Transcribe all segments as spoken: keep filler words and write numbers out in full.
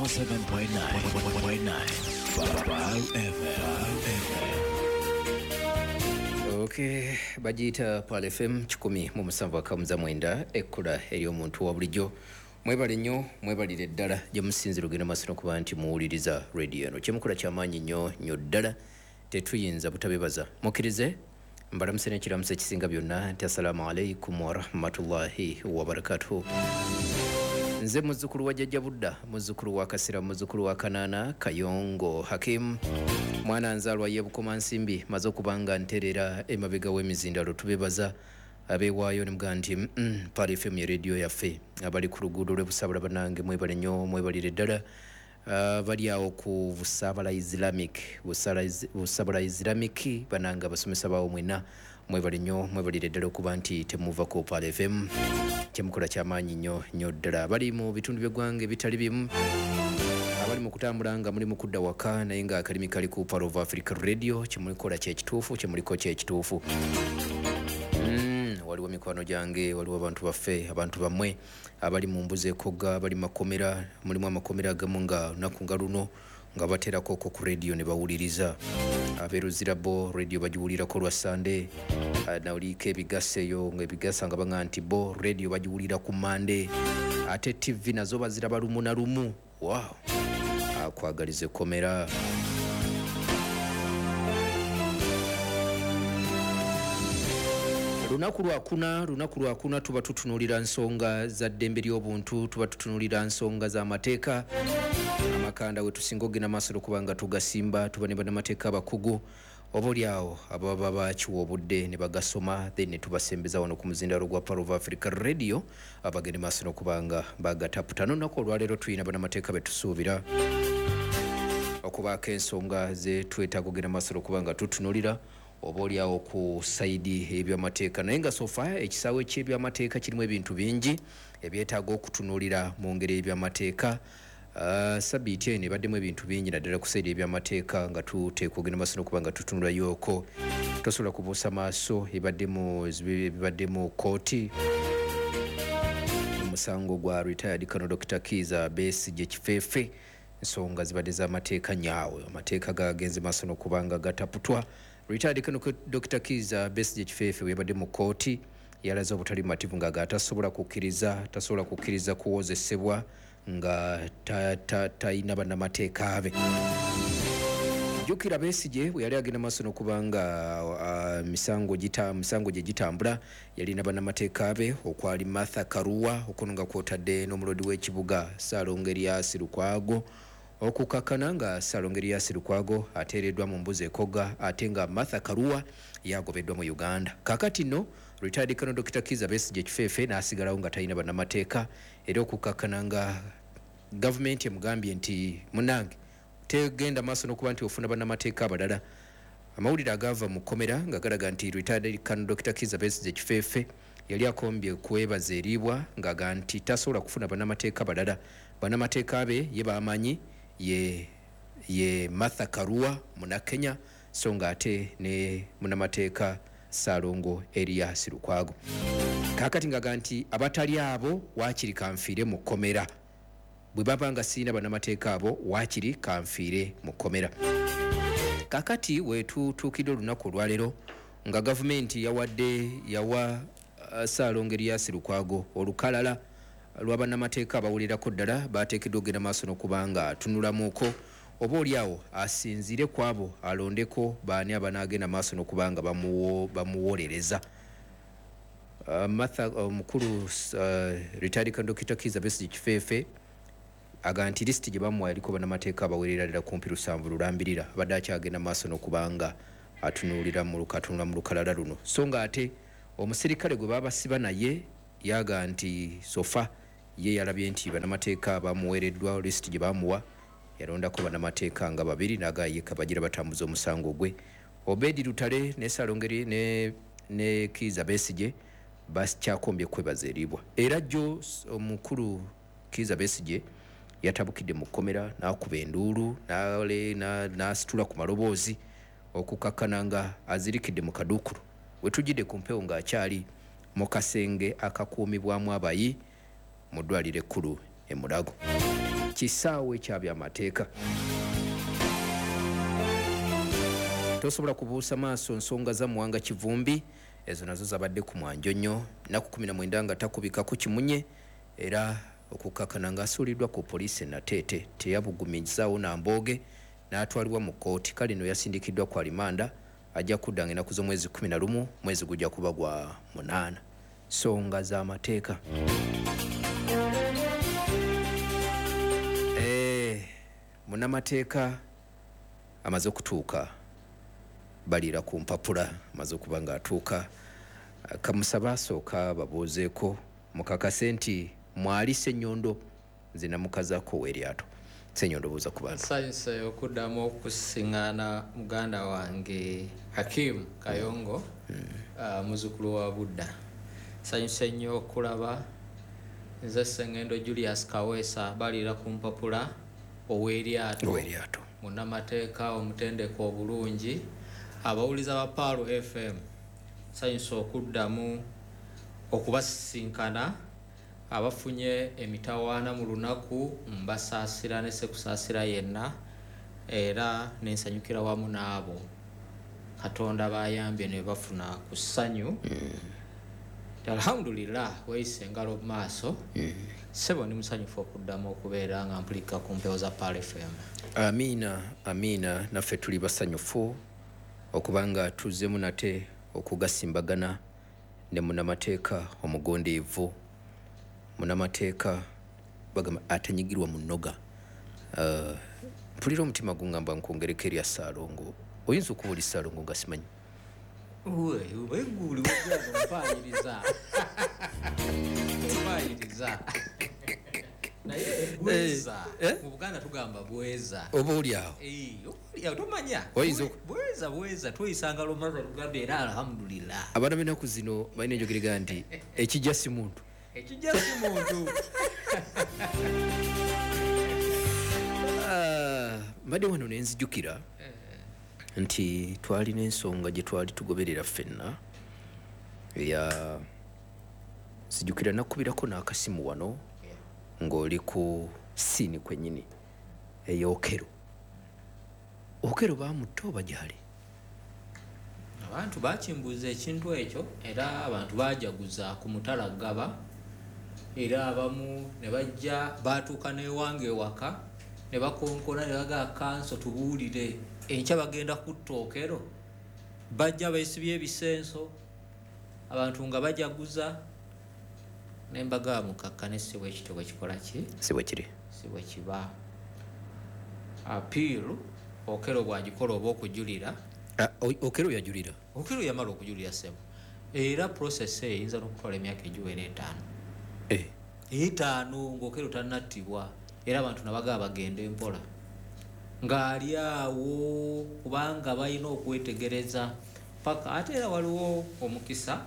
one oh seven point nine Pearl F M. Okay, bagiyita Pearl F M kikumi mu musanvu akamuza mwenda ekkula ery'omuntu wa bulijjo. Mwebale nnyo, mwebalire ddala gye musinzira ogenda maaso n'okuba nti muwuliriza radio eno. Kyemukola kyamaanyi nnyo nnyo ddala, tetuyinza butabebaza. Mukkirize mbalamuse n'ekiramuso ekisinga byonna nti assalaamu alaikum warahmatullahi wabarakatuhu. Nze muzzukulu wa Jjajja Budda, muzzukulu wa Kasira, muzzukulu wa Kanaana Kayongo Hakim, mwana nzaalwa ye Bukomansimbi, maze okuba nga nterera emabega w'emizindalo. Tubebaza abeewaayo ne mugaa nti mm, Pearl F M ye rediyo yaffe. Abali ku luguudo lw'e Busabala bannange mwebale nnyo, mwebalire ddala. Uh, bali awo ku Busabala Islamic, Busabala Islamic bannange abasomesa baawo mwenna mwebale nnyo, mwebalire ddala okuba nti temuva ku Pearl F M. Kyemukola kyamaanyi nnyo nnyo ddala. Bali mu bitundu by'eggwanga ebitali bimu, abali mu kutambula nga muli mu kudda waka naye nga akalimi kali ku Pearl of Africa Radio, kyemukola kyekituufu, kyemuliko kyekituufu. Mm, waliwo mikwano gyange, waliwo abantu baffe, abantu bammwe abali mu mbuzi ekogga, abali makomera, mulimu amakomera agamu nga lunaku nga luno nga baterako ko ku radio ne bawuliriza. Abeeruzira bo radio bagiwulirako lwa Sunday, nawuliko ebigasa eyo nga ebigasa nga baŋŋamba nti bo radio bagiwulira ku Monday, ate T V nazo baziraba lumu na lumu. Wow, akwagaliza ekkomera. Lunaku lwakuna, lunaku lwakuna tuba tutunuulira nsonga za ddembe ly'obuntu, tuba tutunuulira nsonga z'amateeka. Amakanda we tusinga okugenda maaso okuba nga tugasimba, tuba ne bannamateeka abakugu oba oli awo ababa bakiwa obudde ne bagasoma, then ne tubasembeza wano ku muzindalo gwa Pearl of Africa Radio abagende maaso n'okuba nga bagataputa. N'olunaku olwaleero tulina bannamateeka be tusuubira okubaako ensonga ze twetaaga okugenda maaso n'okuba nga tutunuulira oba oli awo ku sayidi ebyamateeka. Naye nga sofa ekisaawe ky'ebyamateeka kirimu ebintu bingi ebyetaaga okutunuulira mu ngeri y'ebyamateeka. Uh, sabiiti eno ebaddemu ebintu bingi naddala ku sayidi ebyamateeka nga tuteekwa okugenda maaso n'okuba nga tutunulayooko. Tosobola kubuusa maaso ebaddemu ebibadde mu kkooti omusango gwa retired Colonel Doctor Kizza Besigye Kifeefe. Ensonga zibadde z'amateeka nyaawe, amateeka gagenze maaso n'okuba nga gataputwa. Retired Colonel Doctor Kizza Besigye Kifeefe bwe yabadde mu kkooti yalaze obutali bumativu nga tasobola kukkiriza tasobola kukkiriza kuwozesebwa nga talina bannamateeka be. Jjukira Besigye bwe yali agenda maaso n'okuba nga uh, misango gita misango gye gitambula yalina bannamateeka be okwali Martha Karua, okuno nga kwotadde n'omulodi w'ekibuga Ssaalongo Erias Lukwago, okukakkana nga Ssaalongo Erias Lukwago ateereddwa mu mbuzi ekogga ate nga Martha Karua yagobeddwa mu Uganda. Kaakati nno retired Colonel Doctor Kizza Besigye Kifeefe n'asigalawo nga talina bannamateeka, era okukakkana nga gavumenti emugambye nti munnange tegenda maaso n'okuba nti ofuna bannamateeka abalala. Amawulire agaava mu kkomera nga galaga nti retired Colonel Doctor Kizza Besigye Kifeefe yali akombye kwebaza eriibwa ng'aga nti tasobola kufuna bannamateeka balala. Bannamateeka be ye bamanyi ye, ye Martha Karua Munnakenya, so nga ate ne munnamateeka Ssaalongo Erias Lukwago. Kaakati ng'aga nti abatali abo waakiri kanfiire mu kkomera, bwe baba nga sirina bannamateeka abo waakiri kanfiire mu kkomera. Kaakati we tutuukidde olunaku olwaleero nga gavumenti yawadde yawa uh, Ssaalongo Erias Lukwago olukalala lwa bannamateeka abawulirako ddala bateekeddwa okugenda maaso n'okuba nga atunulamuuko oba oli awo asinziire ku abo alondeko baani abanaagenda maaso n'okuba nga bamuwolereza. Uh, Martha omukulu uh, retired Colonel Doctor Kizza Besigye Kifeefe aga nti lisiti gye bamuwa eriko bannamateeka abawerera ddala kumpi lusanvu lulambirira, abadde akyagenda maaso n'okuba nga atunuulira mu atunula mu lukalala luno. So nga ate omusirikale gwe babasiba naye yaga nti sofa ye yalabye nti bannamateeka bamuweereddwa lisiti gye bamuwa yalondako bannamateeka nga babiri n'aga ye kabagira batambuza omusango gwe. Obedi Lutale ne Ssaalongo ne, ne Kizza Besigye bakyakombye kwebaza eriibwa. Era jjo omukulu Kizza Besigye yatabukidde mu kkomera n'akuba enduulu n'asitula ku maloboozi okukakkana nga azirikidde mu kaduukulu. We tujjidde ku mpewo ng'akyali mu kasenge akakuumibwamu abayi mu ddwaliro ekkulu e Mulago. Kisaawe kya byamateeka. Tosobola kubuusa maaso nsonga za Muwanga Kivumbi, ezo nazo zabadde ku mwanjo nnyo, nnaku kumi na mwenda nga takubikako kimunye, era okukakkana ng'asuuliddwa ku poliisi e Nateete, teyabugumizaawo na mbooge n'atwalibwa mu kkooti. Kale no yasindikiddwa ku alimanda, ajja kudda ng'ennaku z'omwezi kumi na lumu, mwezi gujja kuba gwa munaana. Nsonga z'amateeka. Eh, munnamateeka amaze okutuuka, baliira ku mpapula, amaze okuba ng'atuuka. Kamusaba asooka babuuzeeko mukakase nti mwali Ssenyondo, nze namukazaako ow'eryato. Ssenyondo, buuza ku bantu. Nsanyuse okuddamu okusiŋŋaana muganda wange Hakim Kayongo, mm. uh, muzzukulu wa Budda. Nsanyuse nnyo okulaba nze Ssengendo Julius Kaweesa, baliira ku mpapula, ow'eryato, ow'eryato, munnamateeka omutendeke obulungi. Abawuliza ba Pearl F M, nsanyuse okuddamu okubasisinkana. Abafunye emitawaana mu lunaku mbasaasira ne sekusaasira yenna, era ne nsanyukira wamu n'abo Katonda bayambye ne bafuna ku ssanyu. Mm. Alhamdulillah, weeyise engalo mu maaso. Mm. Ssebo, ndi musanyufu okuddamu okubeera nga mpulika ku mpewo za Pearl F M. Amiina, amiina, naffe tuli basanyufu okubanga tuzzeemu nate okugasimbagana ne munnamateeka omugondeevu, munnamateeka bagamba atanyigirwa mu nnoga. Uh, mpulira omutima gungamba nkwongereko erya Ssaalongo. Oyinza okuba oli Ssaalongo nga simanyi? Uwe, uwe, guli, mpaayiriza. Mpaayiriza. Naye bweza. Eh, eh? Mu Buganda tugamba bweza. Oba oli awo? Eh, oli awo, tomanya. Oyinza oku- Bweza, bweza, tuyisanga lumaze tugamba era alhamdulillah. Abaana b'ennaku zino balina enjogera nti ekijja si muntu. Ekijja si muntu. Ah, mbadde wano ne nzijukira nti twalina ensonga gye twali tugoberera ffenna eya nzijukira nakubirako n'akasimu wano ng'oli ku siini kwennyini ey'Okello. Okello baamutta oba gy'ali? Abantu bakimbuuza ekintu ekyo, era abantu baajaguza ku mutala Ggaba, era abamu ne bajja baatuuka n'ewange ewaka ne bakonkona ne bagamba kanso tubuulire enkya bagenda kutta Okello. Bajja beesibye ebisenso, abantu nga bajaguza, ne mbagamba mukakkane, si bwe kityo bwe kikola ki? Si bwe kiri. Si bwe kiba. Appeal Okello bw'agikola oba okujulira. Ah, o-, Okello yajulira? Okello yamala okujulira ssebo. Era process eyo eyinza n'okutwala emyaka egiwera etaano. Eh. Etaano ng'Okello tannattibwa, era abantu ne bagamba bagende mpola. Ng'ali awo kubanga balina okwetegereza paka. Ate era waliwo omukisa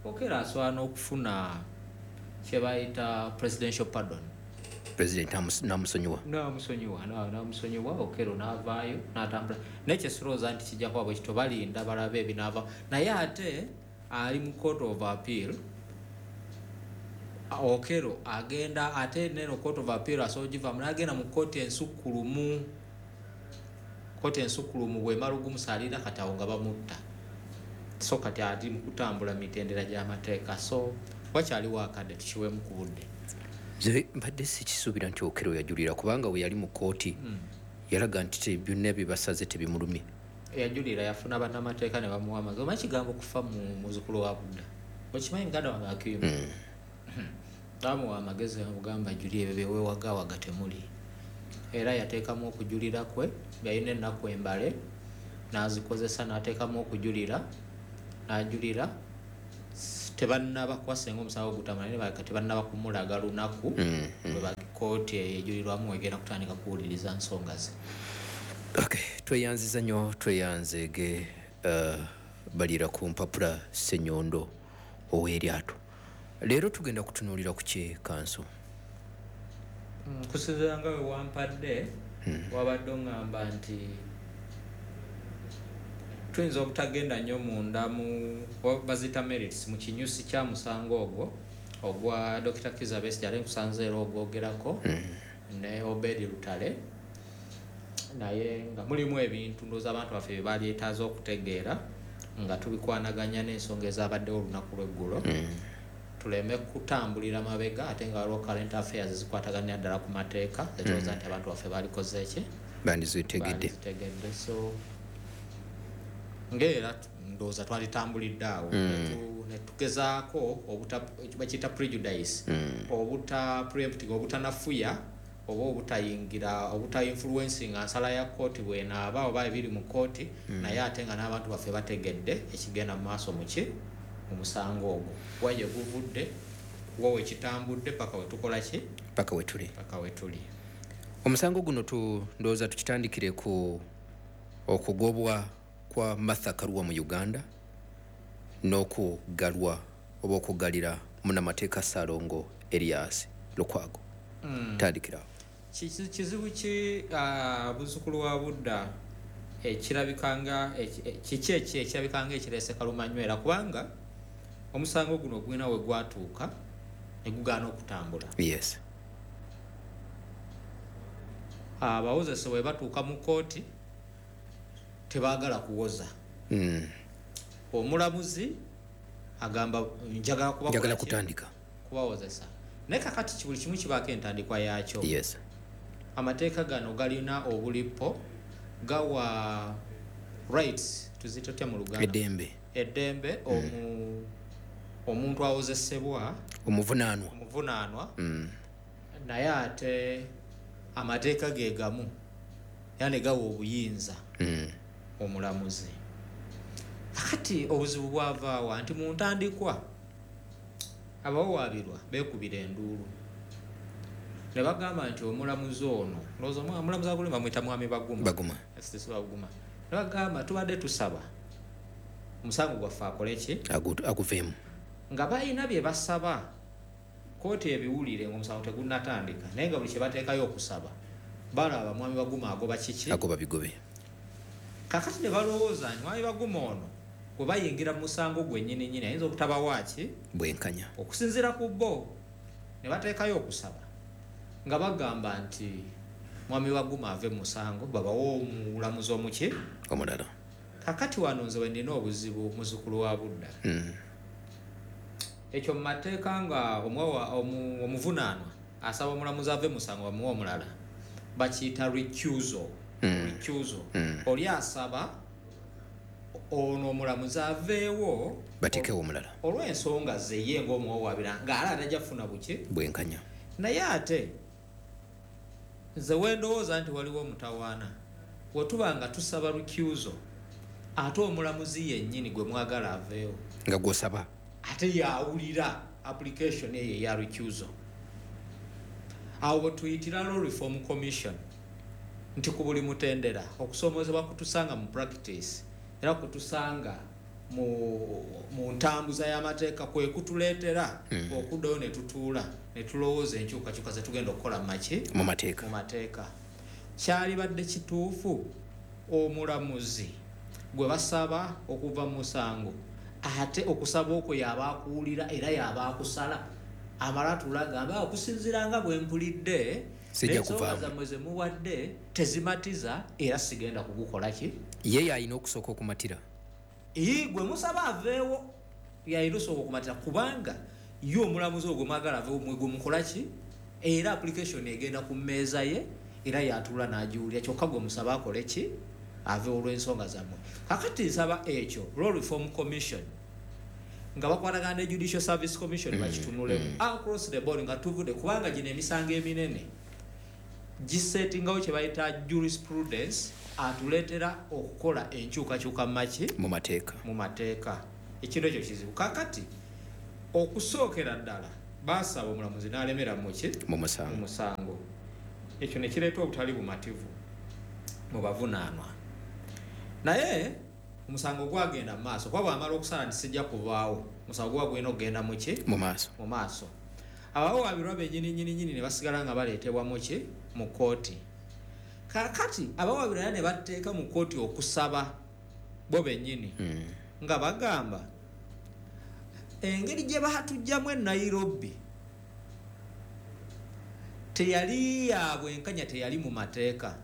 Okello asobola n'okufuna kye bayita presidential pardon. President namus-, namusonyiwa. Namusonyiwa, na-, namusonyiwa, Okello n'avaayo n'atambula. Naye kye sirowooza nti kijja kuba bwe kityo, balinda balabe ebinaava. Naye ate ali mu court of appeal. Okello agenda ate neno court of appeal asobola ogivaamu n'agenda mu kkooti ensukkulumu. Kkooti ensukkulumu bw'emala ogumusalira kati awo nga bamutta. So kati ali mu kutambula mitendera gy'amateeka. So wakyaliwo akadde tukiweemu ku budde. Nze mbadde sikisuubira nti Okello yajulira, kubanga we yali mu kkooti Hmm. yalaga nti te-, byonna bye basaze tebimulumye. Yajulira, yafuna bannamateeka ne bamuwa amagezi. Omanyi kigambo kufa mu muzzukulu wa Budda? Okimanyi muganda wange Hakimu? Hmm. Bamuwa amagezi ne bamugamba ajulire ebyo bye weewagawaga temuli. Era yateekamu okujulira kwe, yalina ennaku embale n'azikozesa n'ateekamu okujulira, n'ajulira. Tebannaba kuba senga omusango gutamala, naye balabika tebannaba kumulaga lunaku Mm, mm. lwe ba kkooti eyo ejulirwamu egenda kutandika kuwuliriza nsonga ze. Okay, tweyanziza nnyo, tweyanzeege, uh, balira ku mpapula Ssenyondo ow'eryato. Leero tugenda kutunuulira ku ki, Kanso? Mm, kusinziira nga we wampadde, Hmm. wabadde oŋŋamba nti tuyinza obutagenda nnyo munda mu, wa-, baziyita merits, mu kinyusi kya musango ogwo ogwa Dokita Kizza Besigye, ate nkusanze era ogwogerako Hmm. Ne Obedi Lutale, naye nga mulimu ebintu ndowooza abantu baffe bye balyetaaze okutegeera nga tubikwanaganya n'ensonga ezabaddewo olunaku lw'eggulo. Mm. Tuleme kutambulira mabega ate nga waliwo current affairs ezikwataganira ddala ku mateeka zetulowooza nti abantu baffe balikoze ki, bandizitegedde. Bandizitegedde. So ng'era ndowooza twalitambulidde awo netu- netugezaako obuta bakiyita prejudice, obuta preempting, obutanafuya oba obutayingira, obuta influencing nsala ya kooti bwenaaba oba ebiri mu kooti, naye ate nga n'abantu baffe bategedde ekigenda mu maaso muki mu musango ogwo, wa gye guvudde, wa wekitambudde paka wetukola ki, paka wetuli. Paka wetuli. Omusango guno tu ndowooza tukitandikire ku okugobwa kwa Martha Karua mu Uganda n'okugalwa oba okugalira munnamateeka Ssalongo Erias Lukwago. Mm. Tandikirawo. Kizi- kizibu ki, ah, buzukulu wa Budda, ekirabika nga eki- e- kiki eki ekirabika nga ekireese kalumanywera, kubanga omusango guno gwina we gwatuuka ne gugaana okutambula. Yes Abawozesa bwe batuuka mu kooti tebaagala kuwoza. Mm. Omulamuzi agamba njagala kubakola Njagala ki? kutandika. Kubawozesa. Naye kakati buli kimu kibaako entandikwa yaakyo. Yes amateeka gano galina obulipo, gawa rights, tuziyite tutya mu Luganda? Eddembe. Eddembe omu omuntu awozesebwa, omuvunaanwa. Omuvunaanwa. Mm. Naye ate amateeka ge gamu era ne gawa obuyinza Mm. omulamuzi. Kakati obuzibu bwavaawa nti mu ntandikwa abawawaabirwa beekubira enduulu ne bagamba nti omulamuzi ono, ndowooza omwa- omulamuzi aguli bamwyita Mwami Baguma. Baguma. Justice Baguma. Ne bagamba tubadde tusaba omusango gwaffe akole ki? Agu- aguveemu. Nga balina bye basaba kooti ebiwulire ngaomusango tegunnatandika, naye nga buli kye bateekayo okusaba balaba Mwami Baguma agoba kiki? Agoba bigobe. Kakati ne balowooza nti Mwami Baguma ono bwe bayingira mu musango gwennyini nnyini ayinza obutabawaaki bwenkanya. Okusinziira ku bo ne bateekayo okusaba nga bagamba nti Mwami Baguma ave mu musango, babawe omulamuzi omuki? Omulala. Kakati wano nze we nnina obuzibu, muzukulu wa Budda. Mm. Ekyo mu mateeka nga omuwawa- omu- omuvunaanwa asaba omulamuzi ave mu musango bamuwe omulala, bakiyita recusal. Mm. Recusal, Mm. oli asaba ono omulamuzi aveewo bateekewo omulala olw'ensonga ze ye ng'omuwawaabira ng'ala atajja kufuna buki? Bwenkanya. Naye ate nze wendowooza nti waliwo omutawaana wetuba nga tusaba recusal ate omulamuzi yennyini gwe mwagala aveewo nga gwosaba ate yawulira application eyo eya recusal. Awo bwetuyitira Law Reform Commission nti ku buli mutendera okusoomozebwa kutusanga mu practice era kutusanga mu, mu ntambuza y'amateeka kwe kutuleetera Mm. okuddayo ne tutuula ne tulowooza enkyukakyuka zetugenda okukola mu maki? Mu mateeka. Mu mateeka. Kyalibadde kituufu omulamuzi gwe basaba okuva mu musango ate okusaba okwo yaba akuwulira era yaba akusala, amala atulagamba okusinziira nga bwe mpulidde Sijja n'ensonga kuvaamu. zammwe ze muwadde tezimatiza era sigenda kugukola ki. Ye yalina okusooka okumatira. Ii, gwe musaba aveewo yalina osooka okumatira, kubanga ye omulamuzi ogwo mwagala aveewo mwe gwe mukola ki, era application egenda ku mmeeza ye era yatuula n'agiwulira, kyokka gwe musaba akole ki? Aveewo olw'ensonga zammwe. Kakati nsaba ekyo Law Reform Commission nga bakwatagana ne Judicial Service Commission bakitunulemu across the board nga tuvudde, kubanga gino emisango eminene gisettingawo kye bayita jurisprudence atuleetera okukola enkyukakyuka mu maki? Mu mateeka. Mu mateeka. Ekintu ekyo kizibu. Kakati okusookera ddala baasaba omulamuzi n'alemera muki? Mu Mu musango. musango. Ekyo ne kireeta obutali bumativu mu bavunaanwa, naye omusango gwagenda mu maaso kuba bwamala okusala nti sijja kuvaawo, omusango guba gulina okugenda muki? Mu maaso. Mu maaso. Abawawaabirwa bennyini nnyini nnyini ne basigala nga baleetebwa muki? Mu kooti. Kakati abawawaabirwa era ne bateeka mu kooti okusaba bo bennyini Mm. nga bagamba engeri gye baatugyamu e Nairobi Teyali ya bwenkanya, teyali mu mateeka.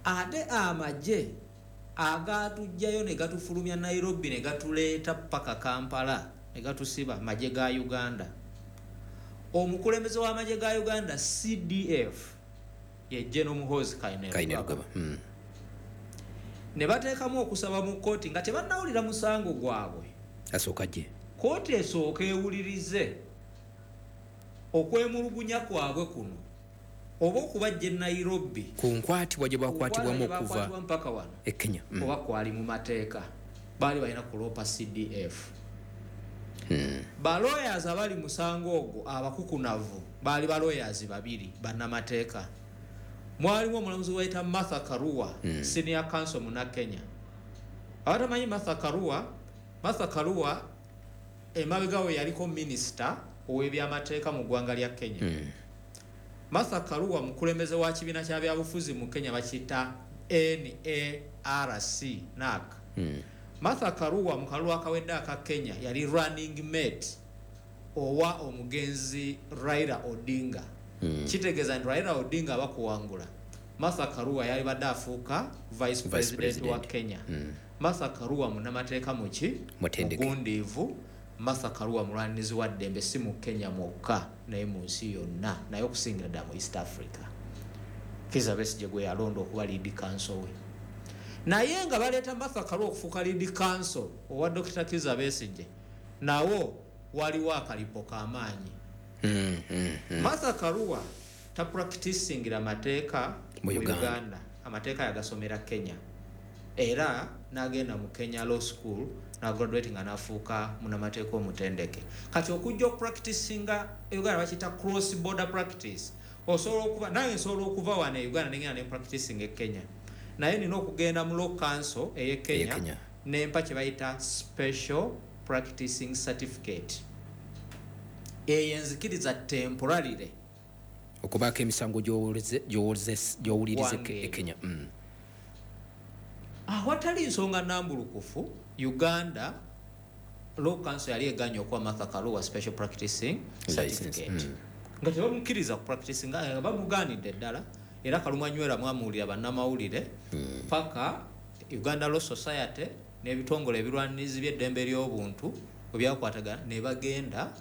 Ate amagye agatujjayo ne gatufulumya Nairobi ne gatuleeta paka Kampala ne gatusiba, magye ga Uganda. Omukulembeze w'amagye ga Uganda C D F ye General Muhoozi Kainerugaba. Mm. Ne bateekamu okusaba mu kkooti nga tebannawulira musango gwabwe. Asooka gye. Kkooti esooka ewulirize okwemulugunya kwabwe kuno oba okubajja e Nairobi ku nkwatibwa gye bakwatibwamu okuva mpaka wano e Kenya. Mm. Oba kwali mu mateeka baali balina kuloopa C D F. Mm. Ba lawyers abali musango ogwo abakukunavu baali ba lawyers babiri bannamateeka. Mwalimu omulamuzi wayita Martha Karua, mm. senior counsel muna Kenya. Abatamanyi Martha Karua, Martha Karua emabega we yaliko minisita ow'ebyamateeka mu ggwanga lya Kenya. Mm. Martha Karua mukulembeze wa kibiina kya byabufuzi mu Kenya bakiyita N A R C, N A C. Mm. Martha Karua mu kalulu akawedde aka Kenya yali running mate owa omugenzi Raila Odinga. Mm. Kitegeeza nti Raila Odinga abakuwangula, Martha Karua yali badde afuuka vice president, president wa Kenya. Mm. Martha Karua munnamateeka muki mugundiivu. Martha Karua mulwanirizi wa ddembe si mu Kenya mwokka naye mu nsi yonna, naye okusingira ddala mu East Africa. Kizza Besigye gwe yalonda okuba lead counsel we. Naye nga baleeta Martha Karua okufuuka lead counsel owa Dokita Kizza Besigye, nawo waliwo akalipo k'amaanyi. Mm, mm, mm. Martha Karua tapracticingira mateeka mu mu Uganda. Uganda. Amateeka yagasomera Kenya. Era n'agenda mu Kenya Law School n'agraduate nga n'afuuka munnamateeka omutendeke. Kati okujja okupracticinga e Uganda bakiyita cross border practice. Osobola okuva, nange nsobola okuva wano e Uganda nengenda ne practicing e Kenya. Naye nina okugenda mu Law Council ey'e Kenya, Kenya. nempa kye bayita special practicing certificate. Eyo enzikiriza temporarily okubaako emisango gy'owuliriza Wange. e Kenya. Mm. Awatali nsonga nnambulukufu, Uganda Law Council yali eganye okuwa Martha Karua special practicing License, certificate. mm. Nga tebamukkiriza ku practicing, nga bamugaanidde ddala. Era Kalumanywera mwamuwulira bannamawulire Mm. paka Uganda Law Society n'ebitongole ebirwanirizi by'eddembe ly'obuntu bwe byakwatagana ne bagenda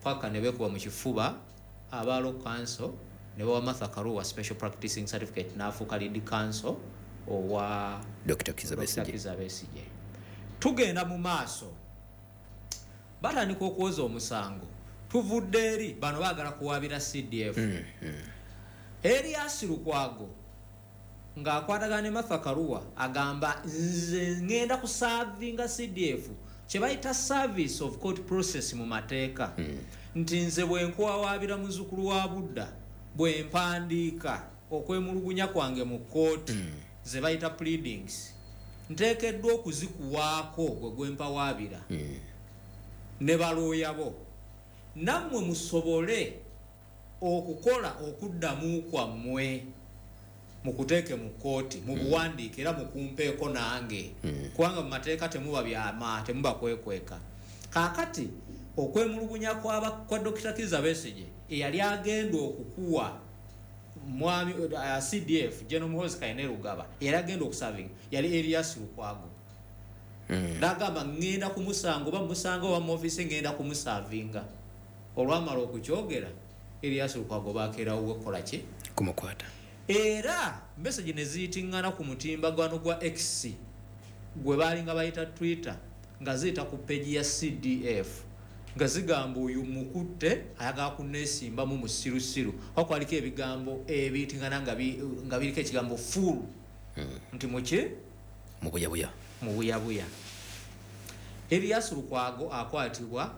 paka ne beekuba mu kifuba aba Law Council ne bawa Martha Karua special practicing certificate n'afuuka lead counsel owa Dokita Kizza Dokita Besigye. Kizza Besigye. Tugenda mu maaso, batandika okwoza omusango. Tuvudde eri bano baagala kuwaabira C D F. Mm, mm. Erias Lukwago ng'akwatagana ne Martha Karua agamba nze ngenda kuservinga C D F, kye bayita service of court process mu mateeka. Mm. Nti nze bwe nkuwawaabira muzzukulu wa Budda, bwe mpandiika okwemulugunya kwange mu kkooti, Mm. ze bayita pleadings, nteekeddwa okuzikuwaako gwe gwe mpawaabira Mm. ne balooya bo, nammwe musobole okukola okuddamu kwammwe mukuteeke mu kkooti, mu buwandiike era mukumpeeko nange. Mm. Kubanga mu mateeka temuba byama, temuba kwekweka. Kaakati okwemulugunya kwa, kwa Dokita Kizza Besigye eyali agenda okukuwa mwami, uh, C D F General Muhoozi Kainerugaba eyali agenda okuservinga yali Erias Lukwago. Mm. N'agamba ngenda kumusanga oba musanga oba mu ofiisi ngenda kumuservinga. Olwamala okukyogera Erias Lukwago bakeerawo okukola ki? Kumukwata. Era message ne ziyitiŋŋana ku mutimbagano gwa X gwe baalinga bayita Twitter, nga ziyita ku page ya C D F nga zigamba oyo mukutte ayagala kunneesimbamu musirusiru. Oba kwaliko ebigambo ebiyitiŋŋana nga bi-, nga biriko ekigambo fool. Mm. Nti muki? Mu buyabuya. Mu buyabuya. Erias Lukwago akwatibwa,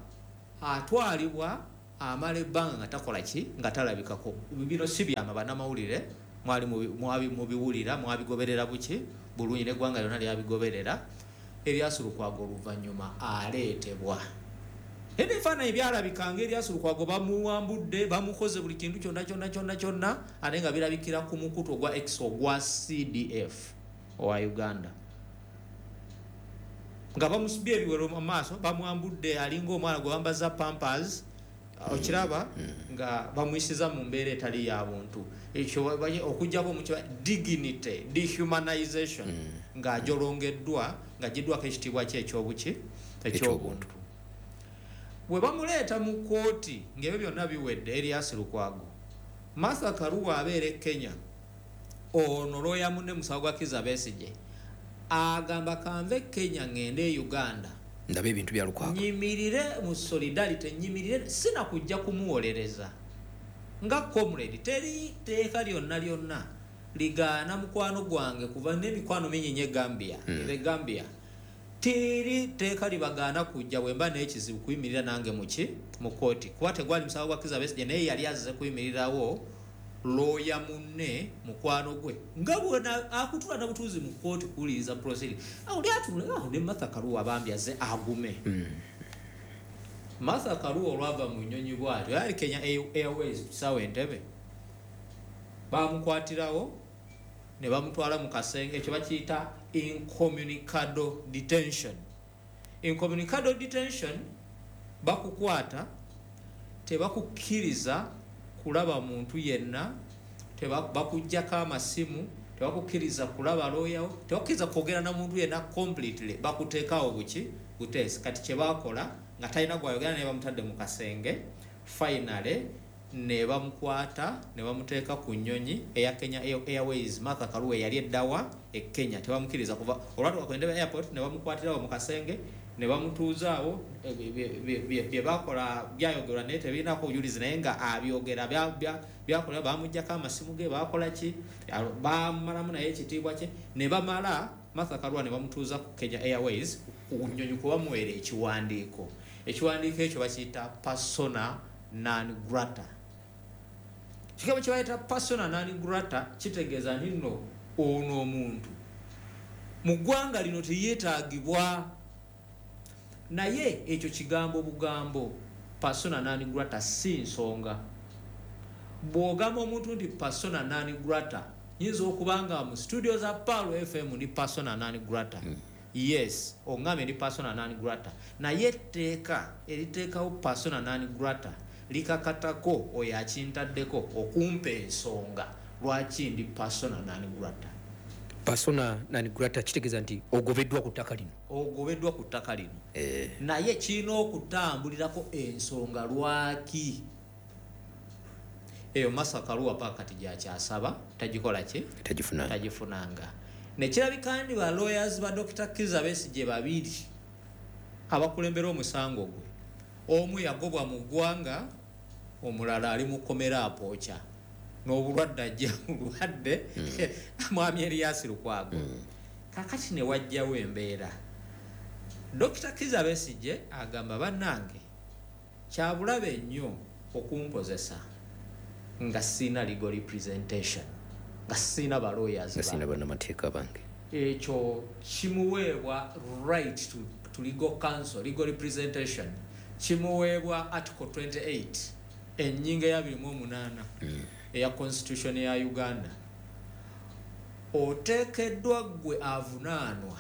atwalibwa, amala ebbanga nga takola ki? Nga talabikako. Bino si byama, bannamawulire mwali mubi-, mubiwulira, mwabigoberera buki bulungi, n'eggwanga lyonna lyabigoberera. Erias Lukwago oluvannyuma aleetebwa. Era ebifaananyi byalabika nga Erias Lukwago bamuwambudde, bamukoze buli kintu kyonna kyonna kyonna kyonna, ate nga birabikira ku mukutu ogwa X ogwa C D F owa Uganda. Nga bamusibye ebiwero mu maaso, bamwambudde alinga omwana gwe bambaza pampers, Okiraba nga bamuyisiza mu mbeera etali ya buntu, ekyo okuggyako mu dignity dehumanization, ng'ajolongeddwa, ng'aggiddwako ekitiibwa kye ekyobuki ekyobuntu. Bwe bamuleeta mu kkooti ng'ebyo byonna biwedde, Erias Lukwago, Martha Karua abeera e Kenya, ono looya munne musango gwa Kizza Besigye, agamba kanve Kenya ngende e Uganda ndabe ebintu bya Lukwago, nyimirire mu solidarity, nyimirire, sina kujja kumuwolereza nga comrade. Teri teeka lyonna lyonna ligaana mukwano gwange kuva n'emikwano mingi nnyo e Gambia, mm. e Gambia teri teeka libagaana kujja bwe mba n'ekizibu kuyimirira nange muki mu kkooti, kuba tegwali musango gwa Kizza Besigye, naye yali azze kuyimirirawo looya munne mukwano gwe nga bwona akutula na butuuzi mu kkooti kuwuliriza proceeding. Oli atule awo ne Martha Karua bambi azze agume. mm. Martha Karua olwava mu nnyonyi bw'atyo, yali Kenya Airways kusaawa Entebbe, bamukwatirawo ne bamutwala mu kasenge, ekyo bakiyita incommunicado detention. Incommunicado detention, bakukwata tebakukkiriza kulaba muntu yenna, bakuggyako amasimu, tebakukkiriza kulaba looyawo, tebakukkiriza kwogera na muntu yenna completely, bakuteekawo buki buteesi. Kati kye baakola nga talina gwayogera naye, bamutadde mu kasenge, finally ne bamukwata ne bamuteeka ku nnyonyi eya Kenya Airways. Martha Karua yali eddawa e Kenya, tebamukkiriza kuva olwatuuka ku Entebbe airport ne bamukwatirawo mu kasenge ne bamutuuzaawo. Bye bakola byayogerwa naye tebirinako bujulizi, naye nga abyogera byakola. Bamuggyako amasimu ge, bakola ki, bamalamu naye ekitiibwa kye, ne bamala Martha Karua ne bamutuuza ku Kenya Airways ku nnyonyi kubamuweera ekiwandiiko. Ekiwandiiko ekyo bakiyita persona non grata. Kigambo kye bayita persona non grata kitegeeza nti nno ono omuntu mu ggwanga lino teyeetaagibwa, naye ekyo kigambo bugambo, persona non grata si nsonga. Bw'ogamba omuntu nti persona non grata, yinza okuba nga mu studio za Pearl F M ndi persona non grata. mm. Yes, oŋŋambye ndi persona non grata, naye etteeka eriteekawo persona non grata likakatako oyo akintaddeko okumpa ensonga lwaki ndi persona non grata. Persona non grata kitegeeza nti ogobeddwa ku ttaka lino, ogobeddwa ku ttaka lino eh. Naye kirina okutambulirako ensonga lwaki. Eyo Martha Karua paka kati gyakyasaba tagikola ki, tagifunanga, tagifunanga. Nekirabika ndi ba lawyers ba Doctor Kizza Besigye babiri abakulembera omusango gwe, omu yagobwa mu ggwanga, omulala ali mu kkomera apooca n'obulwadde ajja bulwadde, mwami Erias Lukwago. Kakati ne wajjawo embeera, Doctor Kizza Besigye agamba bannange kyabulabe nnyo okumpozesa nga sina legal representation, nga sina ba lawyers, nga sina bannamateeka bange. Ekyo kimuweebwa right to, to legal counsel, legal representation kimuweebwa article twenty-eight ennyingo ya abiri mu omunaana mm. eya constitution ya Uganda. Oteekeddwa ggwe avunaanwa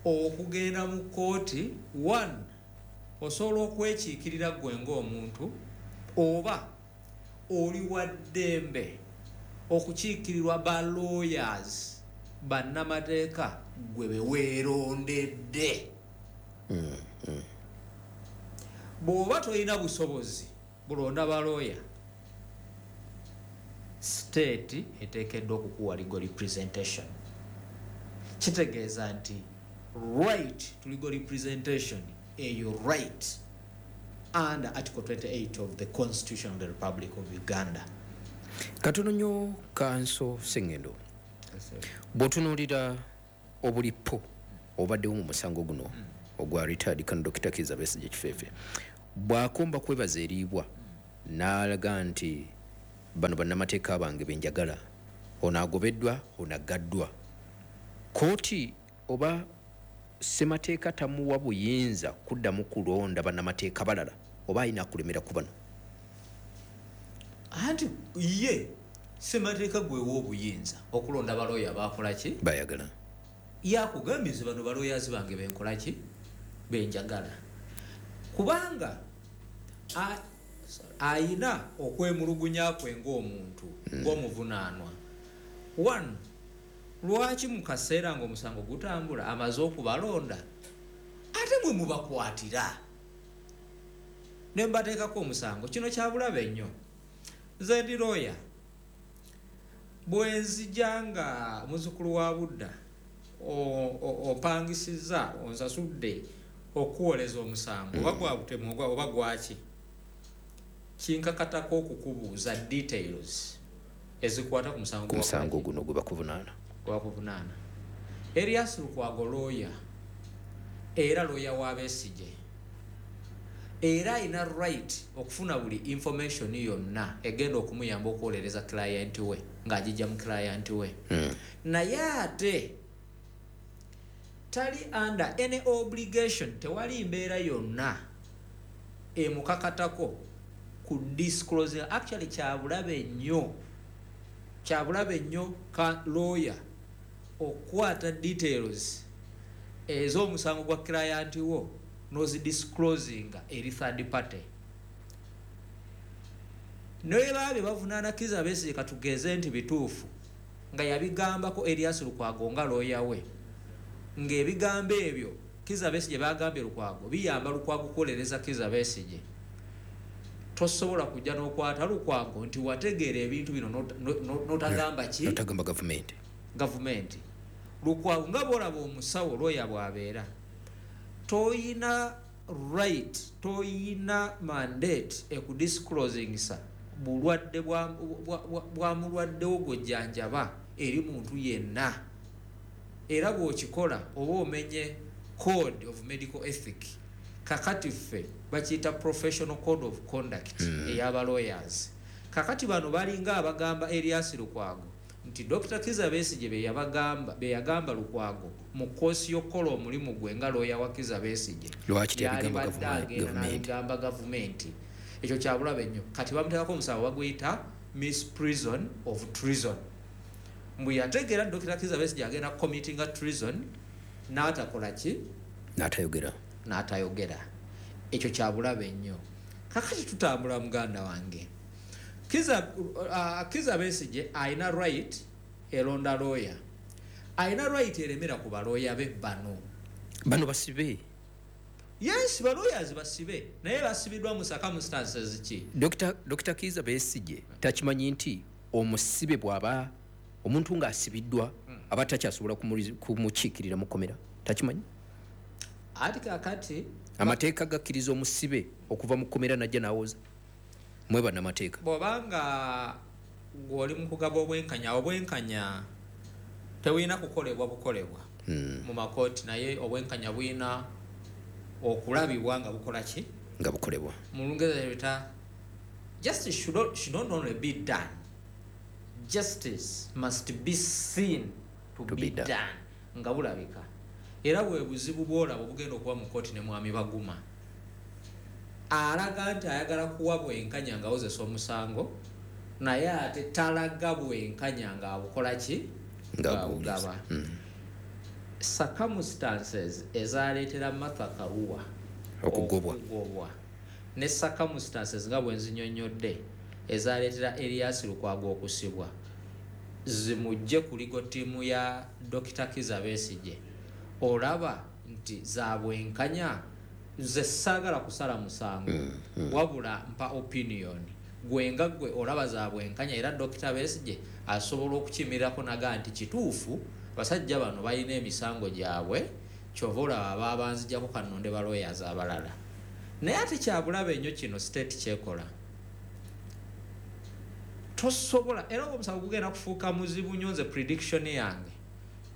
okugenda mu kkooti, one, osobola okwekiikirira ggwe ng'omuntu, oba oli wa ddembe okukiikirirwa ba lawyers bannamateeka ggwe be weerondedde. mm, mm. Bw'oba tolina busobozi bulonda balooya, state eteekeddwa okukuwa legal representation. Kitegeeza nti right to legal representation eyo right under article twenty-eight of the Constitution of the Republic of Uganda. Katono nnyo Kanso Sengendo, bw'otunuulira obulipo obaddewo mu musango guno mm. ogwa retired Colonel Doctor Kizza Besigye Kifeefe, bw'akomba kwebaza eriibwa n'alaga nti bano bannamateeka bange benjagala, ono agobeddwa, ono aggaddwa, kooti oba ssemateeka tamuwa buyinza kuddamu kulonda bannamateeka balala, oba alina kulemera ku bano? Anti ye ssemateeka gwewa obuyinza okulonda balooya bakola ki bayagala. Yakugambye nze bano balooyazi bange benkola ki benjagala, kubanga Ayina okwemulugunya kwe ng'omuntu, Mm. ng'omuvunaanwa. One, lwaki mu kaseera ng'omusango gutambula amaze okubalonda ate mwe mubakwatira ne mbateekako omusango? Kino kya bulabe nnyo. Nze ndi lawyer, bwe nzija nga muzzukulu wa Budda opangisizza, onsasudde okuwoleza omusango, oba gwa butemu oba gwaki, kinkakatako okukubuuza details ezikwata ku musango Ku musango guno gwe bakuvunaana. Gwe bakuvunaana. Erias Lukwago lawyer, era lawyer wa Besigye, era alina right okufuna buli information yonna egenda okumuyamba okuwolereza client we ng'agijja mu client we. Mm. Naye ate tali under any obligation, tewali mbeera yonna emukakatako ku disclosing. Actually kyabulabe nnyo, kyabulabe nnyo ka lawyer okukwata details ez'omusango gwa client wo n'ozidisclosinga eri third party. Naye baba bavunaana Kizza Besigye, katugeze nti bituufu nga yabigambako Erias Lukwago nga lawyer we, ng'ebigambo ebyo Kizza Besigye bagambye Lukwago biyamba Lukwago kuwolereza Kizza Besigye, tosobola kujja n'okwata Lukwago nti wategeera ebintu bino n'otagamba ki? N'otagamba gavumenti. Gavumenti. Lukwago nga bw'olaba omusawo lawyer bw'abeera, toyina right, toyina mandate ekudisclosingisa bulwadde bwa, bwa, bwa, bwa mulwaddewo gw'ojjanjaba eri muntu yenna. Era bw'okikola oba omenye code of medical ethic. Kakati ffe bakiyita professional code of conduct Mm. ey'aba lawyers. Kakati bano balinga abagamba Erias Lukwago nti Doctor Kizza Besigye be yabagamba, be yagamba Lukwago mu koosi y'okukola omulimu gwe nga lawyer wa Kizza Besigye, Lwaki teyabigamba yalibadde gavuma- agenda gavumenti? n'abigamba gavumenti. Ekyo kyabulabe nnyo. Kati bamuteekako omusango baguyita misprision of treason, mbu yategeera Doctor Kizza Besigye agenda committinga treason n'atakola ki? N'atayogera. N'atayogera. Ekyo kyabulabe nnyo. Kakati tutambula, muganda wange. Kizza, uh, Kizza Besigye alina right eronda lawyer, alina right eremera ku balooya be bano. Bano basibe. Yes, balawyers basibe, naye basibiddwa mu circumstances ki? Doctor Doctor Kizza Besigye takimanyi nti omusibe bw'aba omuntu ng'asibiddwa aba takyasobola kumuli- kumukiikirira mu kkomera? Takimanyi? Ati kakati Amateeka gakkiriza omusibe okuva mu kkomera najja n'awoza? Mwe bannamateeka. Bw'obanga ng'oli mu kugaba obwenkanya, obwenkanya tebulina kukolebwa bukolebwa Hmm. mu makooti, naye obwenkanya bulina okulabibwa nga bukola ki? Nga bukolebwa. Mu Lungereza bita justice should not, should not only be done, justice must be seen to, To be, be done. done, nga bulabika. Era bwe buzibu bwolaba obugenda okuba mu kooti ne Mwami Baguma alaga nti ayagala kuwa bwenkanya ng'awozesa omusango, naye ate talaga bwenkanya ng'abukola ki? Ng'abuwuliza. Ng'abugaba. Mm. Circumstances ezaleetera Martha Karua okugobwa, okugobwa ne circumstances nga bwe nzinyonnyodde ezaleetera Erias Lukwago okusibwa zimugje ku legal team ya Doctor Kizza Besigye, olaba nti za bwenkanya? Nze saagala kusala musango, Mm, mm. wabula mpa opinion. Gwe nga gwe olaba za bwenkanya era Doctor Besigye asobola okukimirirako naga nti kituufu basajja bano balina emisango gyabwe, kyova olaba babanzijjako, kannonde ba lawyers abalala. Naye ate kyabulabe nnyo kino state kyekola. Tosobola, era omusango gugenda kufuuka muzibu nnyo. Nze prediction yange,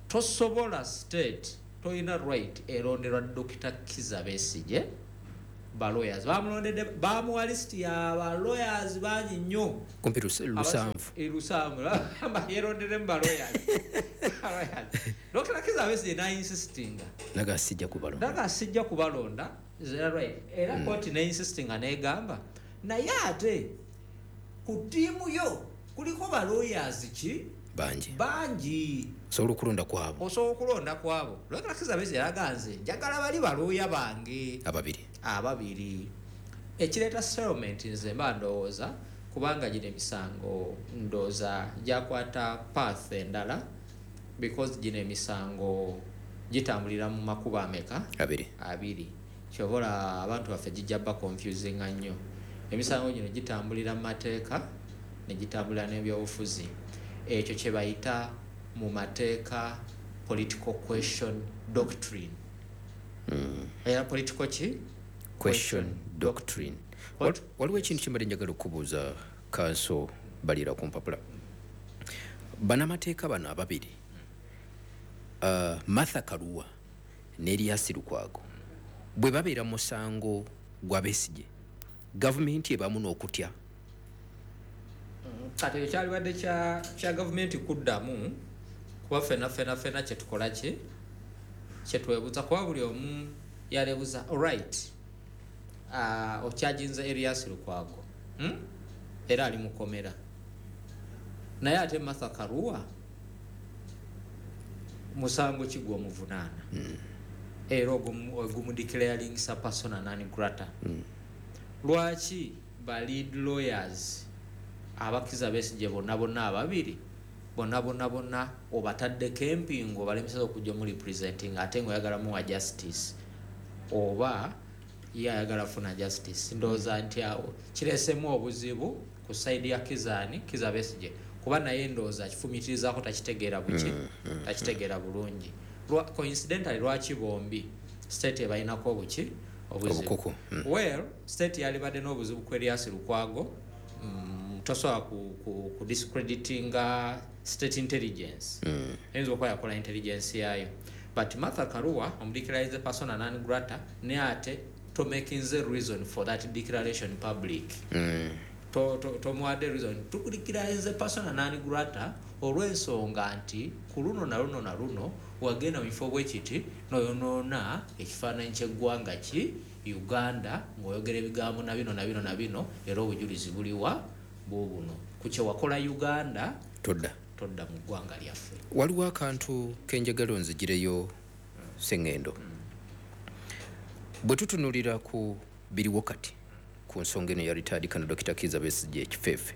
tosobola, state tolina right eronderwa Doctor Kizza Besigye balawyers. Bamulondedde, bamuwa list ya balawyers bangi nnyo. Kumpi lusanvu. eh, lusanvu yeronderemu balawyers. Doctor Kizza Besigye nainsistinga Naga sijja kubalonda. Naga sijja kubalonda, right. Era mm. kooti neinsistinga negamba, naye ate ku ttiimu yo kuliko balawyers ki? Bangi. Bangi. Osobola okulonda kwabo. Osobola okulonda kwabo. Doctor Kizza Besigye yalaga nze njagala bali balooya bange ababiri. Ababiri. Ekireeta settlement nze mba ndowooza kubanga gino emisango ndowooza gyakwata path endala, because gino emisango gitambulira mu makubo ameka? Abiri. Abiri. Kyobola abantu baffe gijja ba confusinga nnyo. Emisango gino gitambulira mu mateeka ne gitambulira n'ebyobufuzi. Ekyo kye bayita mu mateeka political question doctrine. Mm. Era political ki? Question doctrine. Waliwo ekintu kyembadde njagala okubuuza Kanso Balira ku mpapula. Bannamateeka bano ababiri, uh, Martha Karua ne Erias Lukwago, bwe babeera musango gwa Besigye, gavumenti ebamu n'okutya. Kati ekyo kyalibadde kya, kya gavumenti kuddamu, kuba ffenna ffenna ffenna kye tukola ki? Kye twebuuza, kuba buli omu yalebuuza, alright, uh, okyajinza Erias Lukwago, hmm? Era ali mukomera. Naye ate Martha Karua musango ki gw'omuvunaana? Mm. Era ogumudeclaringisa persona non grata. Mm. Lwaki ba lead lawyers abakiza Besigye bonna bonna ababiri bonna bonna bonna obataddeko empingu obalemeseza okujja mu representing, ate ng'oyagala muwa justice oba ye ayagala funa justice? Ndowooza nti awo kireesemu obuzibu ku side ya Kizaani Kizza Besigye, kuba naye ndowooza akifumiitirizaako takitegeera buki, mm, mm, takitegeera bulungi. Coincidentally lwaki bombi state ebalinako obuki obuzibu? Obukuku. Mm. Well, state yalibadde n'obuzibu ku Erias Lukwago. Mm, tosobola ku, ku, ku discreditinga state intelligence. Mm. Eyinza okuba yakola intelligence yaayo. But Martha Karua omudeclarize persona non grata, ne ate to making the reason for that declaration public. Mm. To to tomuwadde reason tukudeclarize persona non grata olw'ensonga nti ku luno na luno na luno wagenda mu bifo bwe kiti n'oyonoona ekifaananyi ky'eggwanga ki Uganda ng'oyogera ebigambo na bino na bino na bino, era obujulizi buliwa buubuno ku kye wakola Uganda todda todda mu ggwanga lyaffe. Waliwo akantu kenjagala onzigireyo Sengendo. Bwe tutunulira ku biriwo kati ku nsonga eno ya retired Colonel Dokita Kizza Besigye ekifeefe,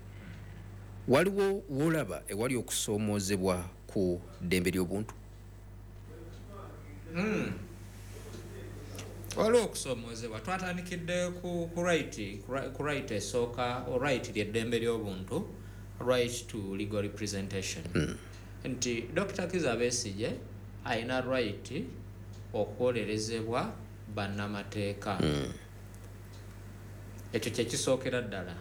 waliwo w'olaba ewali okusoomoozebwa ku ddembe ly'obuntu? Mm. Waliwo okusoomoozebwa. Twatandikidde ku, ku right, ku right esooka, right ly'eddembe ly'obuntu, right to legal representation. Mm. Nti Dokita Kizza Besigye alina right okuwolerezebwa bannamateeka. Mm. Ekyo kye kisookera ddala.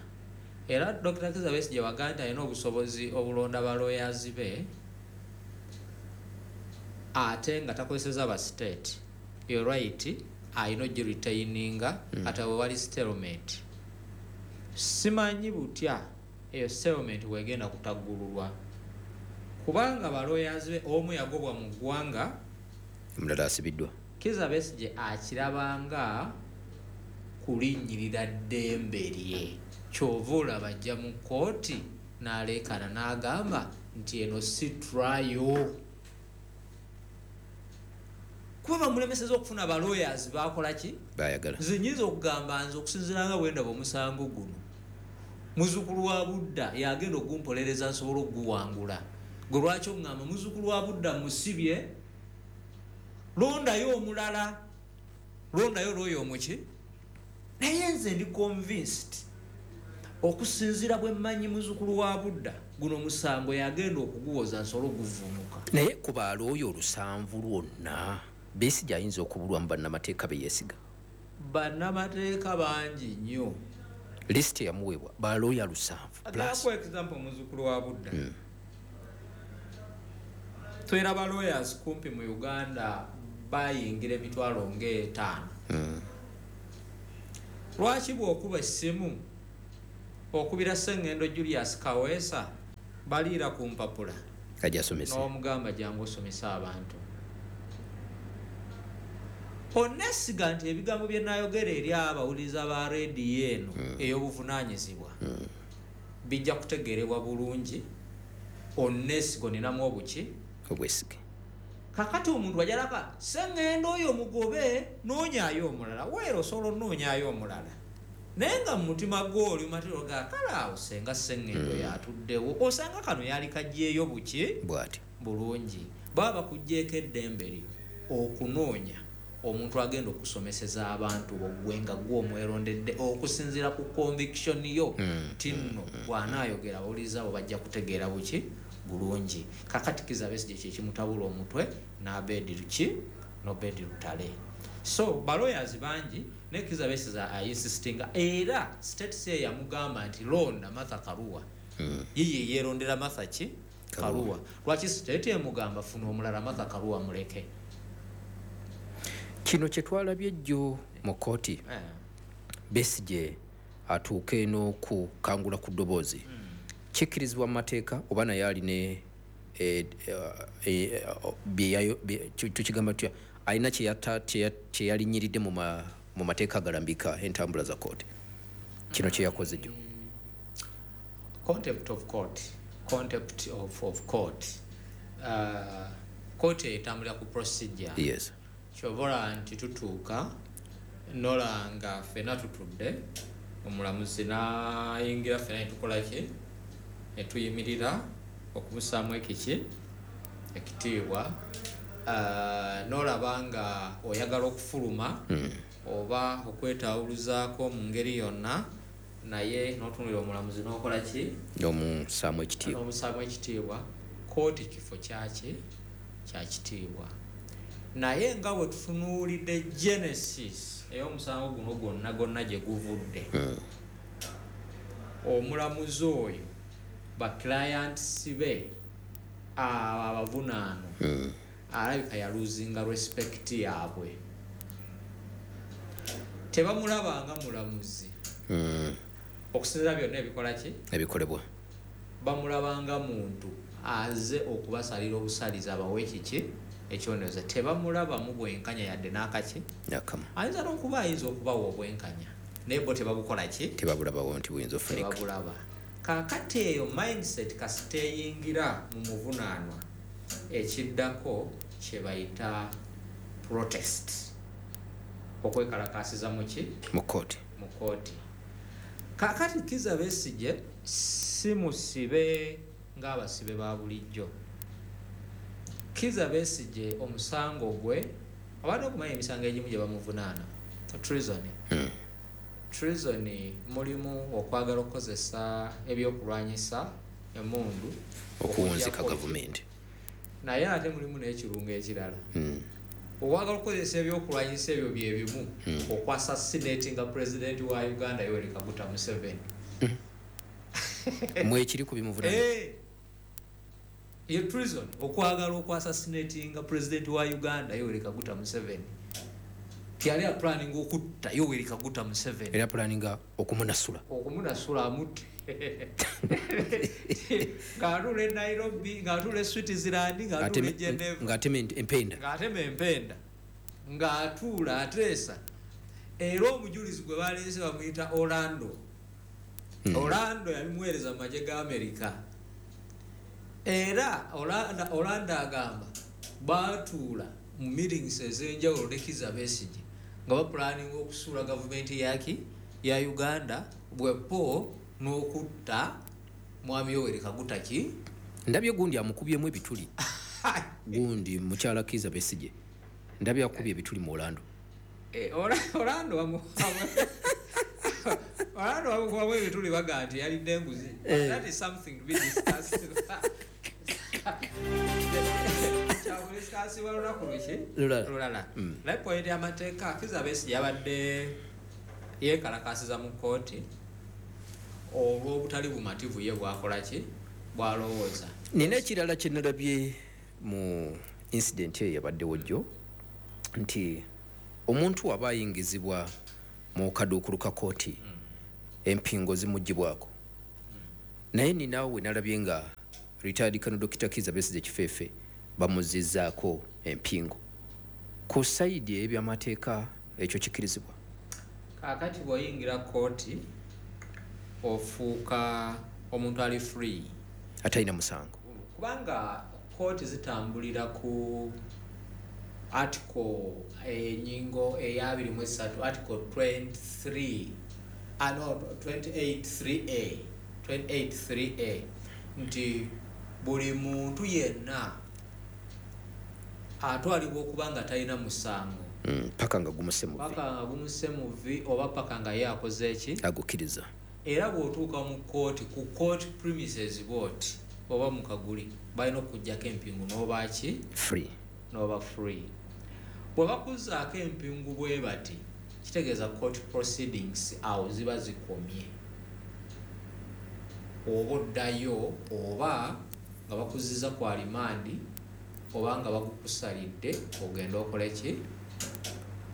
Era Dokita Kizza Besigye wagamba nti alina obusobozi obulonda ba lawyers be ate nga takozeseza ba state. Eyo right alina ogiretaininga mm. ate we wali settlement. Simanyi butya eyo settlement wegenda kutaggululwa, kubanga ba lawyers be omu yagobwa mu ggwanga, omulala asibiddwa. Kizza Besigye akirabanga kulinnyirira ddembe lye. Ky'ova olaba ajja mu kkooti n'aleekaana n'agamba nti eno si trial, kuba bamulemeseza okufuna ba lawyers baakola ki? Baayagala. Nze nnyinza okugamba nze okusinziira nga bwe ndaba omusango guno, muzzukulu wa Budda yagenda ogumpolereza nsobole okuguwangula. Gwe lwaki oŋŋamba muzzukulu wa Budda musibye, londayo omulala, londayo looyo omuki? Naye nze ndi convinced okusinziira bwe mmanyi muzzukulu wa Budda, guno omusango yagenda okuguwoza nsobole okuguvuunuka. Naye ku balooyo olusanvu lwonna Besigye ayinza okubulwamu bannamateeka be yeesiga. Bannamateeka bangi nnyo. List yamuweebwa balooya lusanvu. Plus example muzzukulu wa Budda. Mm. Tulina ba lawyers kumpi mu Uganda bayingira emitwalo ng'etaano. Mm. Lwaki bw'okuba essimu okubira Ssengendo Julius Kaweesa baliira ku mpapula Ajja asomese. N'omugamba jangu osomese abantu. Onesiga nti ebigambo bye nayogera eri abawuliriza ba rediyo eno mm. ey'obuvunaanyizibwa mm. bijja kutegeerebwa bulungi. Onesiga oninamu obuki? Obwesige. Kakati omuntu ajalaka Ssengendo oyo mugobe noonyaayo omulala, weera osobola onoonyaayo omulala. Naye nga mu mutima gwo oli matero ga kale awo senga Sengendo mm. yatuddewo, osanga kano yali kajjeeyo buki bw'ati bulungi. Baba bakuggyeeko eddembe lyo okunoonya omuntu agenda okusomeseza abantu bogwe nga gwe omwerondedde okusinziira ku conviction yo nti nno bw'anaayogera abawuliriza abo bajja kutegeera buki bulungi. Kakati Kizza Besigye kye kimutabula omutwe n'Abedi Luki n'Obedi Lutale. So balawyers bangi ne Kizza Besigye ainsistinga, era state say yamugamba nti londa Martha Karua. Mm. Yeye yeerondera Martha ki? Karua. Lwaki state emugamba funa omulala Martha Karua muleke? Kino kye twalabye jjo mu kkooti, Eh. Besigye atuuke n'okukangula ku ddoboozi, kikkirizibwa mu mateeka oba naye alina eh, eh, eh, bye yayo- bye- tu- tukigamba tutya, alina kye yata- kye ya- kye yalinyiridde mu ma- mu mateeka agalambika entambula za kkooti? Kino kye yakoze jjo. Contempt of court, contempt of, of court. Uh, court etambulira ku procedure. Yes. Kyova olaba nti tutuuka nolanga ffenna tutudde, omulamuzi n'ayingira, ffenna ne tukola ki? Ne tuyimirira okumusaamu ekiki? Ekitiibwa. Uh, n'olaba nga oyagala okufuluma oba okwetawuluzaako mu ngeri yonna, naye n'otunulira omulamuzi n'okola ki? N'omusaamu ekitiibwa. N'omusaamu ekitiibwa. Kooti kifo kyaki? Kya kitiibwa. Naye nga bwe tutunuulidde genesis ey'omusango guno gwonna gwonna gye guvudde, omulamuzi oyo ba clients be abo abavunaano alabika yaluzinga respect yaabwe, tebamulabanga mulamuzi Mm. okusinziira byonna ebikola ki? Ebikolebwa. Bamulabanga muntu aze okubasalira obusalizi abawe kiki? Ekyonezo. Tebamulabamu bwenkanya yadde n'akaki. Nakamu. Ayinza n'okuba ayinza okubawa obwenkanya, naye bo tebabukola ki? Tebabulabawo nti buyinza ofunika. Tebabulaba. Kaakati eyo mindset kasita eyingira mu muvunaanwa, ekiddako kye bayita protest, okwekalakaasiza mu ki? Mu kkooti. Mu kooti. Kaakati Kizza Besigye si musibe ng'abasibe ba bulijjo. Kizza Besigye omusango gwe, abadde okumanya emisango egimu gye bamuvunaana treason. Mm. Treason mulimu okwagala okukozesa ebyokulwanyisa, emundu, okuwunzika okuggyako gavumenti. Naye ate mulimu n'ekirungo ekirala, Mm. okwagala okukozesa ebyokulwanyisa ebyo byebimu okwassassinatinga president wa Uganda Yoweri Kaguta Museveni. Mwekiri ku bimuvunaana. Eh, ye treason, okwagala okwassassinatinga president wa Uganda Yoweri Kaguta Museveni. Tiyali aplanning okutta Yoweri Kaguta Museveni? Era pulaninga okumunasula. Okumunasula amutte ng'atuula e Nairobi, ng'atuula e Switzerland, ng'atuula e Geneva, ng'atema empenda. Ng'atema empenda, ng'atuula ateesa. Era omujulizi gwe baleese bamuyita Orlando. Orlando yabimuweereza mu magye ga Amerika. Era Orlando, Orlando agamba baatuula mu meetings ez'enjawulo ne Kizza Besigye nga bapulaninga okusuula gavumenti yaki? Ya Uganda, bwepo n'okutta mwami Yoweri Kaguta ki. Ndabye gundi amukubyemu ebituli, gundi mukyala Kizza Besigye, ndabye akubye ebituli mu Orlando. Eh, Ora- Orlando wamu- Orlando bamukubamu ebituli, baga nti yalidde enguzi. That is something to be discussed. Kyakudiscussibwa lunaku luki? Lulala. Lulala. Naye point y'amateeka, Kizza Besigye yabadde yeekalakaasiza mu kkooti olw'obutali bumativu ye bwakola ki? Bwalowooza. Nina ekirala kye nalabye mu incident eyo yabaddewo jjo, nti omuntu waba ayingizibwa mu kaduukulu ka kooti, empingo zimugibwako, naye ninawe we nalabye nga retired Colonel Doctor Kizza Besigye Kifeefe bamuzizzaako empingo. Ku side ey'ebyamateeka ekyo kikkirizibwa? Kaakati bw'oyingira kkooti ofuuka omuntu ali free, atalina musango. Kubanga kooti zitambulira ku article, enyingo eyabiri mu esatu, article twenty-three Ah, no, twenty-eight three A, twenty-eight three A nti buli muntu yenna atwalibwa okuba nga talina musango Mm, paka nga gumuse muvi. Paka nga gumuse muvi oba paka nga ye akoze eki? Agukkiriza. Era bw'otuuka mu kooti, ku court premises bwoti oba mu kaguli, balina okugjako empingu n'oba ki? Free. N'oba free. Bwe bakuzzaako empingu bwe bati, kitegeeza court proceedings awo ziba zikomye, oba oddayo oba nga bakuzizza ku alimandi oba nga bagukusalidde ogenda okole ki?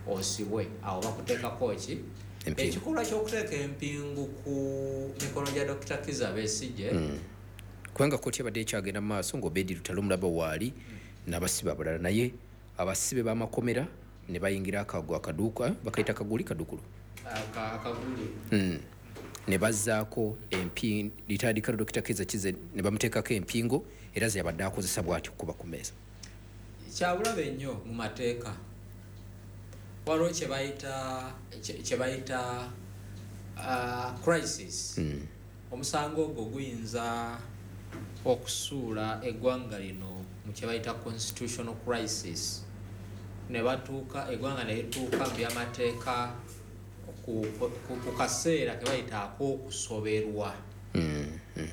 Osibwe. Awo bakuteekako ki? Empingu. Ekikolwa ky'okuteeka empingu ku mikono gya Dokita Kiza Besigye, Mm. kubanga kooti abadde ekyagenda mu maaso ng'Obedi Lutale omulaba waali n'abasibe abalala, naye abasibe b'amakomera ne bayingira akago akaduuka bakayita kaguli kadukulu. aka- akaguli. Mm. ne bazzaako empi litandika Dokita Kiza Kize ne bamuteekako empingo era ze yabadde akozesa bw'ati okuba ku mmeeza. Kyabulabe nnyo mu mateeka. Waliwo kyebayita kye- kyebayita uh, crisis. Mm. Omusango ogwo guyinza okusuula eggwanga lino mu kyebayita constitutional crisis, ne batuuka eggwanga ne lituuka mu byamateeka ku, ku, ku kaseera ke bayita ak'okusoberwa. Mm. Mm.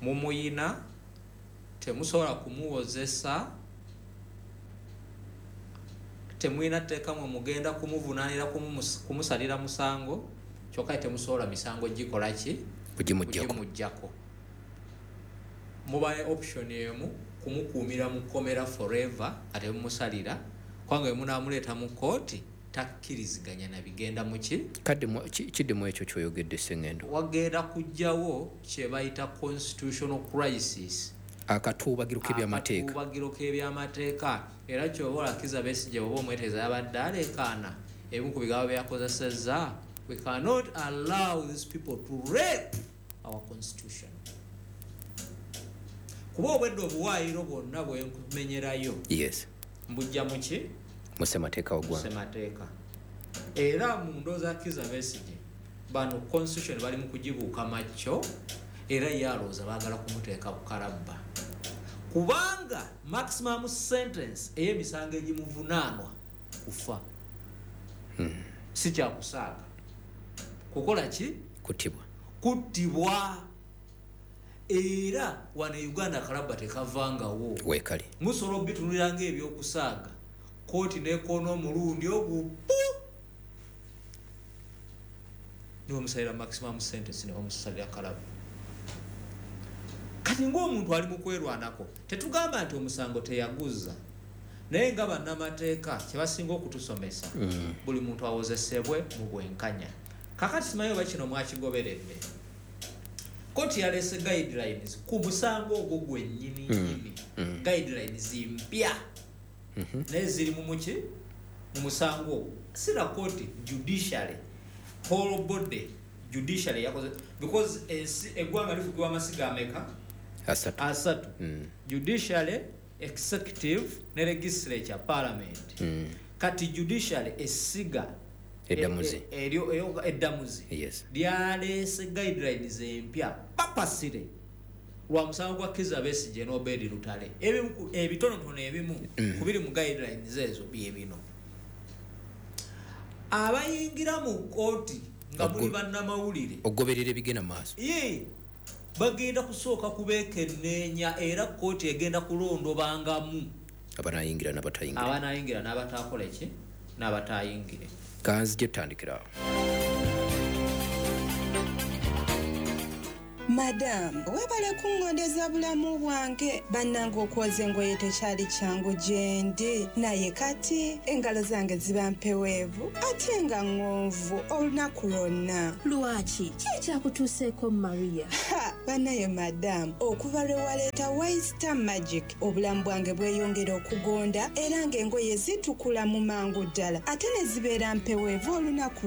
Mumuyina, temusobola kumuwozesa, temulina tteeka mwe mugenda kumuvunaanira kumu- kumusalira musango, kyokka temusobola misango gikola ki? Kugimuggyako. Kugimuggyako. Muba ne option emu, kumukuumira mu kkomera forever nga temumusalira, kubanga bwe munaamuleeta mu kooti takkiriziganya na bigenda muki. Kadde mu- ki- kiddemu ekyo kyoyogedde, Sengendo. Wagenda kujjawo kye bayita constitutional crisis. Akatuubagiro k'ebyamateeka. Akatuubagiro k'ebyamateeka. Era kyoba olakiza Besigye bwoba omweteeza yabadde aleekaana, ebimu ku bigambo byakozesezza, "We cannot allow these people to rape our constitution," kuba obwedde obuwaayiro bwonna bwenkumenyerayo Yes mbujja muki? Mu ssemateeka w'eggwanga. Ssemateeka. Era mu ndowooza Kiza Besigye, bano constitution bali mu kugibuuka makyo, era ye alowooza baagala kumuteeka ku kalabba, kubanga maximum sentence ey'emisango egimuvunaanwa kufa, si kyakusaaga kukola ki? Kuttibwa. Kuttibwa. Era wano e Uganda kalabba tekavangawo. Weekali. Musobola obitunulira ngaebyokusaaga, kooti nekoona omulundi ogwo pu nibamusalira maximum sentence, nebamusalira kalabba. Kati ngaomuntu ali mu kwerwanako, tetugamba nti omusango teyaguza, naye nga bannamateeka kyebasinga okutusomesa, Mm. buli muntu awozesebwe mu bwenkanya. Kakati simanyi oba kino mwakigoberedde, kooti yalese guidelines ku musango ogwo gwennyini nyini, Mm. guidelines mpya, Mhm. naye ziri mu muki? Mu musango ogwo. Sira kooti, judiciary, whole body judiciary yakoze, because ensi eggwanga lifugibwa amasiga ameka? Asatu. Asatu. Mm. Judiciary, executive ne legislature, parliament. Mm. Kati judiciary, essiga Eddamuzi. e- e- eryo- eryo- eddamuzi Yes. lyaleese guidelines empya papasire lwa musango gwa Kiza Besigye n'Obedi Lutale. Ebimu ku- ebitonotono ebimu Mm. ku biri mu guidelines ezo bye bino: abayingira mu kooti nga muli Ogo- bannamawulire, okugoberera ebigenda mu maaso, ye bagenda kusooka kubeekenneenya, era kooti egenda kulondobangamu abanayingira n'abatayingira. Abanayingira n'abatakola ki? N'abatayingire. Kanzije tutandikira awo. Madamu, weebale kuŋŋondeza bulamu bwange. Bannange, okwoza engoye tekyali kyangu gye ndi, naye kati engalo zange ziba mpeweevu ate nga ŋŋonvu olunaku lwonna. Lwaki? Ki ekyakutuuseeko, Maria? Ha, bannaye madamu, okuva lwe waleeta Waista Magic, obulamu bwange bweyongera okugonda, era ng'engoye zitukula mu mangu ddala ate ne zibeera mpeweevu olunaku.